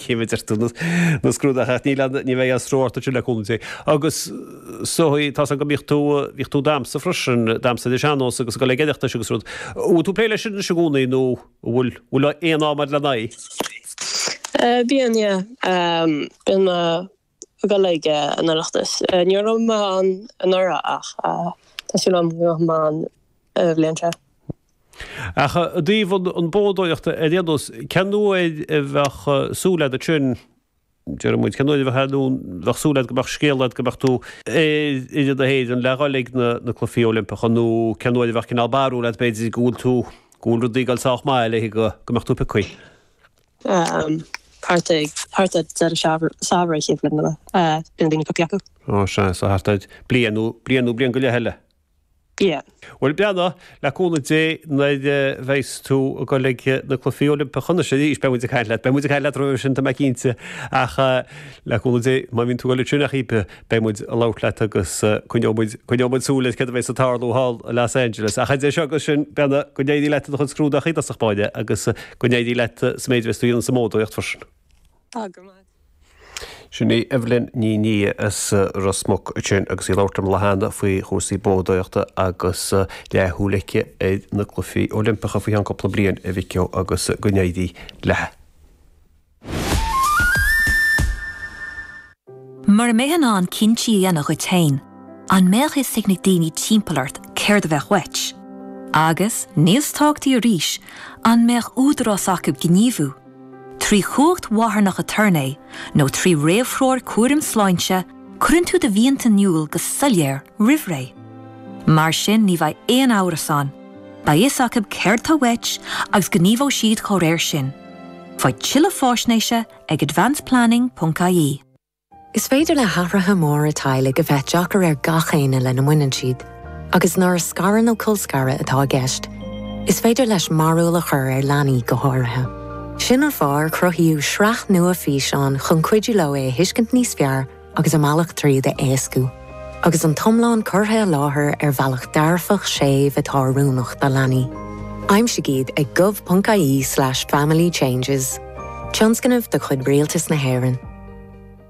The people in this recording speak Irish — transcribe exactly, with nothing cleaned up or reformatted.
ghéarchéim a deir tú, na scrúduithe ach níl aon, ní bheidh aon stró ort ansin le cúnamh Dé. Agus so tá's agam go mbíodh tú, bhíodh tú ag damhsa freisin, damhsa ar an sean-nós agus ag dul ag Oireachtais agus rud. An bhfuil tú ag plé leis sin anois i gcónaí nó an bhfuil, bhfuil aon am agat lena aghaidh? Bíonn, yeah. Bíonn mé ag dul ag an Oireachtas. Ní raibh mé ann anuraidh ach tá súil agam go mbeidh mé ann an bhliain seo. Ach i dtaobh an boghdóireachta ar aon nós, cén uair a bheadh súil agat ansin, déarfaidh muid, cén uair a bheadh nó bheadh súil agat go mbeadh scéal agat go mbeadh tú ar fhoireann na hÉireann le dhul ag na Cluichí Oilimpeacha nó cén uair a bheadh cineál barúil agat b'fhéidir go bhfuil tú, go bhfuil rudaí ag dul sách maith le go mbeadh tú pioctha? Thart ag, thart ar deireadh samhraidh chéad bhliain eile, bíonn daoine pioctha acu. Ó sea, so thart ar bliain nó bliain nó bliain go leith eile. Yeah. Bhuel, breathnaigh, le cúnamh Dé, nuair a bheas tú ag dul ag na Cluichí Oilimpeacha anois arís, beidh muid ag caint leat, beidh muid ag caint leat roimhe sin, tá mé cinnte, ach le cúnamh Dé, má bhíonn tú ag dul ansin ach oiread, beidh muid ag labhairt leat agus coinneoidh muid, coinneoidh muid súil ar céard a bheas ag tarlú thall i Los Angeles. Ach idir seo agus sin, breathnaigh, go n-éirí leat i do chuid scrúduithe i dtosach báire agus go n-éirí leat sa méid a bheas tú a dhéanamh sa mboghdóireacht freisin. Tá go maith. Sin í Evelyn Ní Nia as Ros Muc ansin agus í ag labhairt liom an lá cheana faoi chúrsaí boghdóireachta agus leathshúil aici ar na Cluichí Oilimpeacha faoi cheann cúpla bliain, a mhic ó, agus go n-éirí léi. Mura mbeifeá in ann cinntí a dhéanamh dhuit féin, an mbeadh fhios ag na daoine timpeall ort céard a bheadh uait? Agus, níos tábhachtaí arís, an mbeadh údarás acu gníomhú? Trí chumhacht mharthanach aturnae nó trí réamhthreoir cúraim sláinte, cuireann tú do mhianta in iúl go soiléir roimh ré. Mar sin ní bheidh aon amhras ann, beidh fhios acu céard tá uait agus gníomhóidh siad dá réir sin. Faigh tuilleadh faisnéise ag advanceplanning ponc ie. Is féidir le hathruithe móra teaghlaigh a bheith deacair ar gach éinne lena mbaineann siad, agus nuair is scaradh nó colscaradh atá i gceist, is féidir leis mearbhall a chur ar leanaí go háirithe. Sin an fáth ar cruthaíodh sraith nua físeán chun cuidiú leo é a thuiscint níos fearr agus a mbealach tríd a éascú. Agus an t-iomlán curtha i láthair ar bhealach dearfach séimh atá oiriúnach do leanaí. Aimsigh iad ag gov ponc ie slash family changes. Tionscnamh de chuid Rialtas na hÉireann.